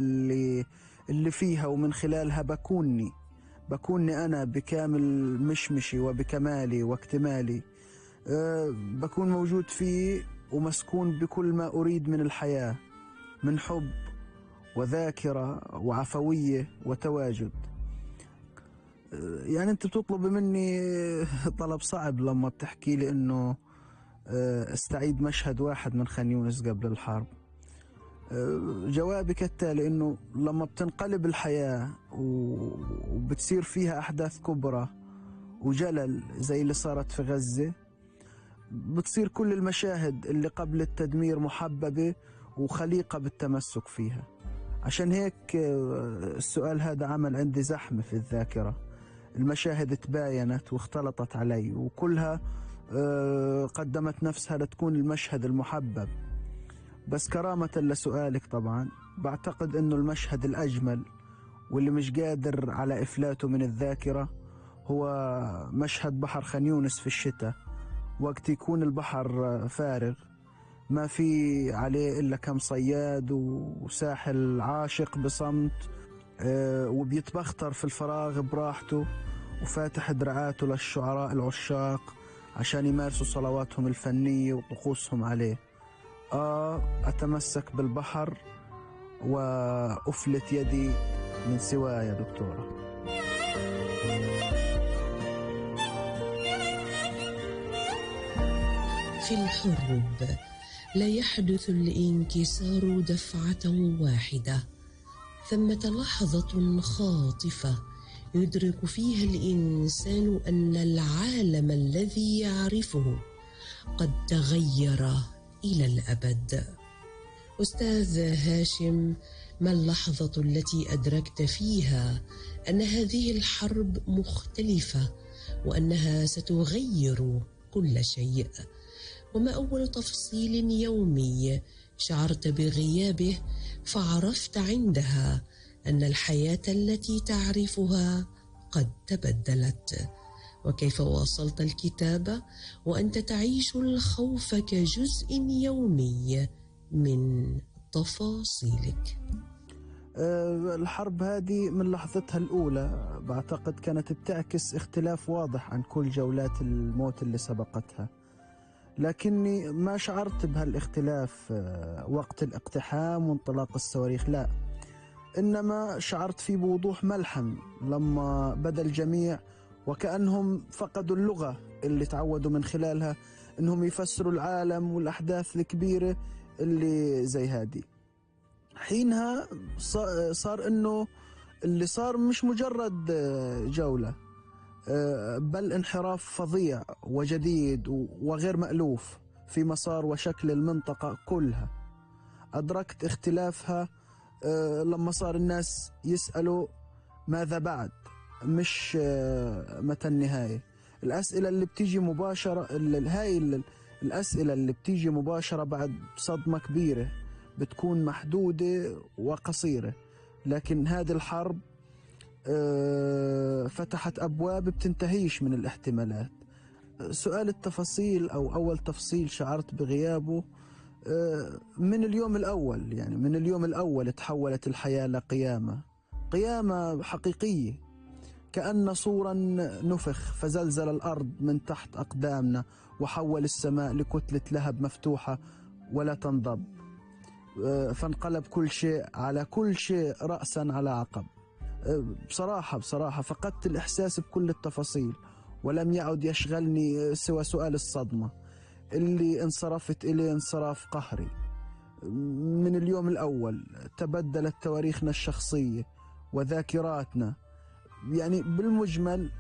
اللي فيها، ومن خلالها بكوني أنا بكامل مشمشي وبكمالي واكتمالي. بكون موجود فيه ومسكون بكل ما أريد من الحياة، من حب وذاكرة وعفوية وتواجد. يعني أنت بتطلب مني طلب صعب لما بتحكي لي إنه استعيد مشهد واحد من خان يونس قبل الحرب. جوابي كالتالي: إنه لما بتنقلب الحياة وبتصير فيها أحداث كبرى وجلل زي اللي صارت في غزة، بتصير كل المشاهد اللي قبل التدمير محببة وخليقة بالتمسك فيها. عشان هيك السؤال هذا عمل عندي زحمة في الذاكرة. المشاهد تباينت واختلطت علي، وكلها قدمت نفسها لتكون المشهد المحبب. بس كرامة لسؤالك طبعا بعتقد انه المشهد الأجمل واللي مش قادر على إفلاته من الذاكرة هو مشهد بحر خان يونس في الشتاء، وقت يكون البحر فارغ، ما في عليه إلا كم صياد وساحل عاشق بصمت، وبيتبختر في الفراغ براحته وفاتح دراعاته للشعراء العشاق عشان يمارسوا صلواتهم الفنية وطقوسهم عليه. أتمسك بالبحر وأفلت يدي من سواه يا دكتورة. في الحروب لا يحدث الانكسار دفعة واحدة، ثمة لحظة خاطفة يدرك فيها الإنسان أن العالم الذي يعرفه قد تغير إلى الأبد. أستاذ هاشم، ما اللحظة التي أدركت فيها أن هذه الحرب مختلفة وأنها ستغير كل شيء؟ وما أول تفصيل يومي شعرت بغيابه فعرفت عندها أن الحياة التي تعرفها قد تبدلت؟ وكيف واصلت الكتابة وأنت تعيش الخوف كجزء يومي من تفاصيلك؟ الحرب هذه من لحظتها الأولى بعتقد كانت بتعكس اختلاف واضح عن كل جولات الموت اللي سبقتها، لكني ما شعرت بهالاختلاف وقت الاقتحام وانطلاق الصواريخ، لا، إنما شعرت فيه بوضوح ملحم لما بدأ الجميع وكأنهم فقدوا اللغة اللي تعودوا من خلالها إنهم يفسروا العالم والأحداث الكبيرة اللي زي هذه. حينها صار إنه اللي صار مش مجرد جولة، بل انحراف فظيع وجديد وغير مألوف في مسار وشكل المنطقة كلها. أدركت اختلافها لما صار الناس يسألوا ماذا بعد، مش متى النهاية. الأسئلة اللي بتيجي مباشرة، الأسئلة اللي بتيجي مباشرة بعد صدمة كبيرة بتكون محدودة وقصيرة، لكن هذه الحرب فتحت أبواب بتنتهيش من الاحتمالات. سؤال التفاصيل أو أول تفصيل شعرت بغيابه من اليوم الأول، يعني من اليوم الأول تحولت الحياة قيامة حقيقية، كأن صورا نفخ فزلزل الأرض من تحت أقدامنا وحول السماء لكتلة لهب مفتوحة ولا تنضب، فانقلب كل شيء على كل شيء رأسا على عقب. بصراحة فقدت الإحساس بكل التفاصيل، ولم يعد يشغلني سوى سؤال الصدمة اللي انصرفت إليه انصراف قهري. من اليوم الأول تبدلت تواريخنا الشخصية وذاكراتنا، يعني بالمجمل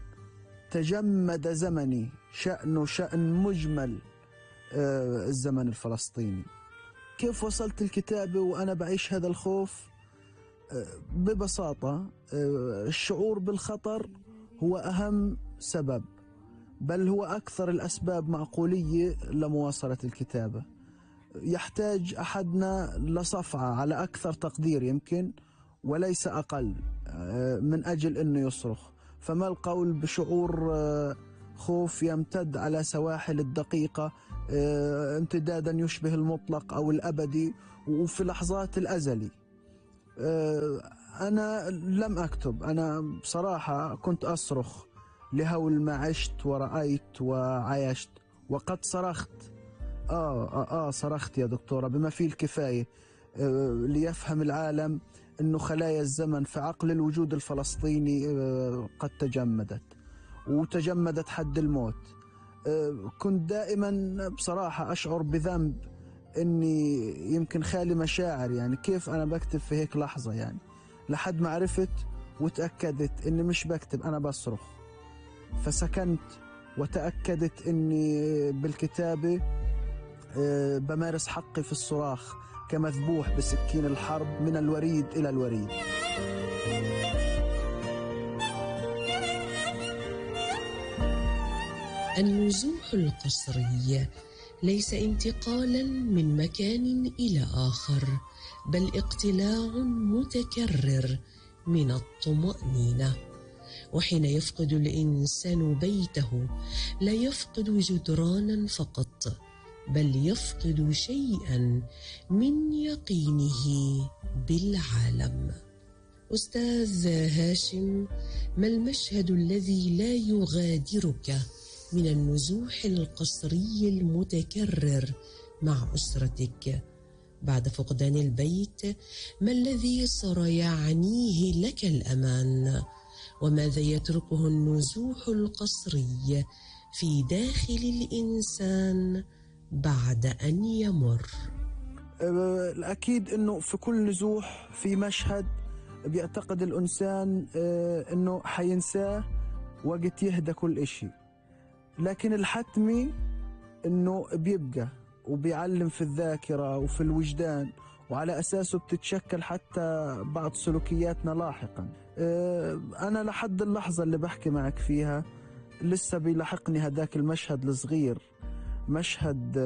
تجمد زمني شأنه شأن مجمل الزمن الفلسطيني. كيف وصلت الكتابة وأنا بعيش هذا الخوف؟ ببساطة الشعور بالخطر هو أهم سبب، بل هو أكثر الأسباب معقولية لمواصلة الكتابة. يحتاج أحدنا لصفعة على أكثر تقدير يمكن وليس أقل من أجل أنه يصرخ. فما القول بشعور خوف يمتد على سواحل الدقيقة امتدادا يشبه المطلق أو الأبدي، وفي لحظات الأزلي. أنا لم أكتب. أنا بصراحة كنت أصرخ لهول ما عشت ورأيت وعايشت، وقد صرخت. صرخت يا دكتورة بما فيه الكفاية ليفهم العالم أنه خلايا الزمن في عقل الوجود الفلسطيني قد تجمدت حد الموت. كنت دائما بصراحة أشعر بذنب أني يمكن خالي مشاعر، يعني كيف أنا بكتب في هيك لحظة، يعني لحد ما عرفت وتأكدت أني مش بكتب، أنا بصرخ. فسكنت وتأكدت أني بالكتابة بمارس حقي في الصراخ كمذبوح بسكين الحرب من الوريد إلى الوريد. النزوح القسري ليس انتقالا من مكان إلى آخر، بل اقتلاع متكرر من الطمأنينة. وحين يفقد الإنسان بيته لا يفقد جدرانا فقط، بل يفقد شيئا من يقينه بالعالم. أستاذ هاشم، ما المشهد الذي لا يغادرك من النزوح القسري المتكرر مع أسرتك بعد فقدان البيت؟ ما الذي صار يعنيه لك الأمان؟ وماذا يتركه النزوح القسري في داخل الإنسان بعد أن يمر؟ الأكيد أنه في كل نزوح في مشهد بيعتقد الإنسان أنه حينساه وقت يهدى كل إشي، لكن الحتمي أنه بيبقى وبيعلم في الذاكرة وفي الوجدان، وعلى أساسه بتتشكل حتى بعض سلوكياتنا لاحقا. أنا لحد اللحظة اللي بحكي معك فيها لسه بيلاحقني هداك المشهد الصغير، مشهد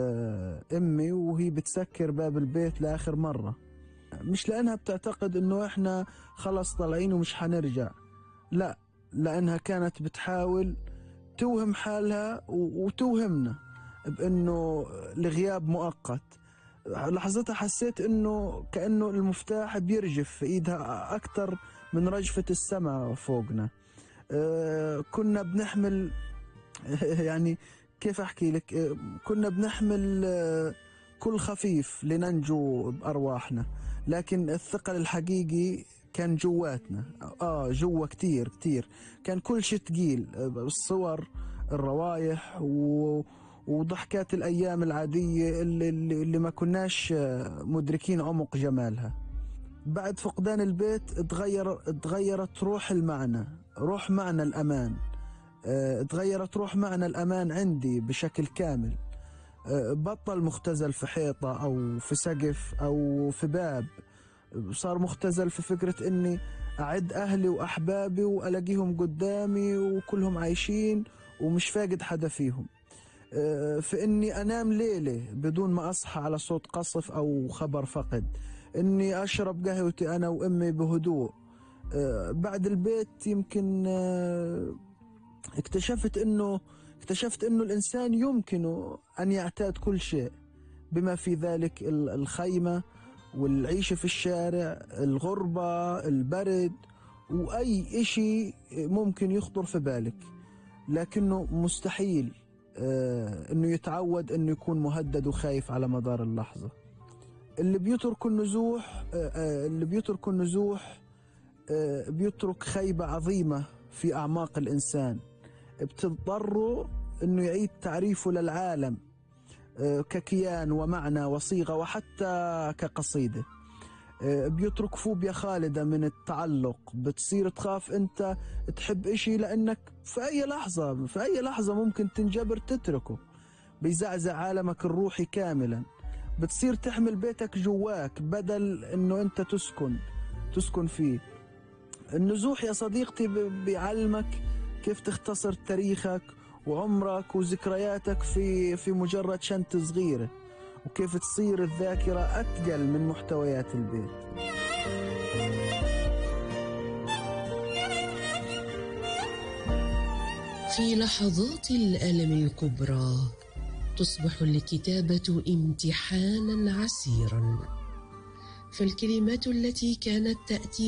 أمي وهي بتسكر باب البيت لآخر مرة، مش لأنها بتعتقد أنه إحنا خلص طالعين ومش حنرجع، لا، لأنها كانت بتحاول توهم حالها وتوهمنا بأنه الغياب مؤقت. لحظتها حسيت أنه كأنه المفتاح بيرجف في إيدها أكتر من رجفة السماء فوقنا. كنا بنحمل يعني كيف أحكي لك، كنا بنحمل كل خفيف لننجو بأرواحنا، لكن الثقل الحقيقي كان جواتنا، جوا كتير كتير، كان كل شيء تقيل، الصور، الروايح وضحكات الأيام العادية اللي ما كناش مدركين عمق جمالها. بعد فقدان البيت اتغيرت روح المعنى، روح معنى الأمان، اتغيرت روح معنى الأمان عندي بشكل كامل. بطل مختزل في حيطة أو في سقف أو في باب، صار مختزل في فكرة إني أعد أهلي وأحبابي وألاقيهم قدامي وكلهم عايشين ومش فاقد حدا فيهم، في إني أنام ليلة بدون ما أصحى على صوت قصف أو خبر فقد، إني أشرب قهوتي أنا وأمي بهدوء. بعد البيت يمكن اكتشفت إنه الإنسان يمكنه أن يعتاد كل شيء، بما في ذلك الخيمة والعيشة في الشارع، الغربة، البرد، وأي إشي ممكن يخطر في بالك، لكنه مستحيل إنه يتعود إنه يكون مهدد وخايف على مدار اللحظة. اللي بيترك النزوح بيترك خيبة عظيمة في أعماق الإنسان، بتضطره إنه يعيد تعريفه للعالم ككيان ومعنى وصيغة وحتى كقصيدة. بيترك فوبيا خالدة من التعلق، بتصير تخاف أنت تحب إشي لأنك في أي لحظة ممكن تنجبر تتركه، بيزعزع عالمك الروحي كاملا. بتصير تحمل بيتك جواك بدل أنه أنت تسكن فيه. النزوح يا صديقتي بيعلمك كيف تختصر تاريخك وعمرك وذكرياتك في مجرد شنطة صغيرة، وكيف تصير الذاكرة أثقل من محتويات البيت. في لحظات الألم الكبرى تصبح الكتابة امتحانا عسيرا، فالكلمات التي كانت تأتي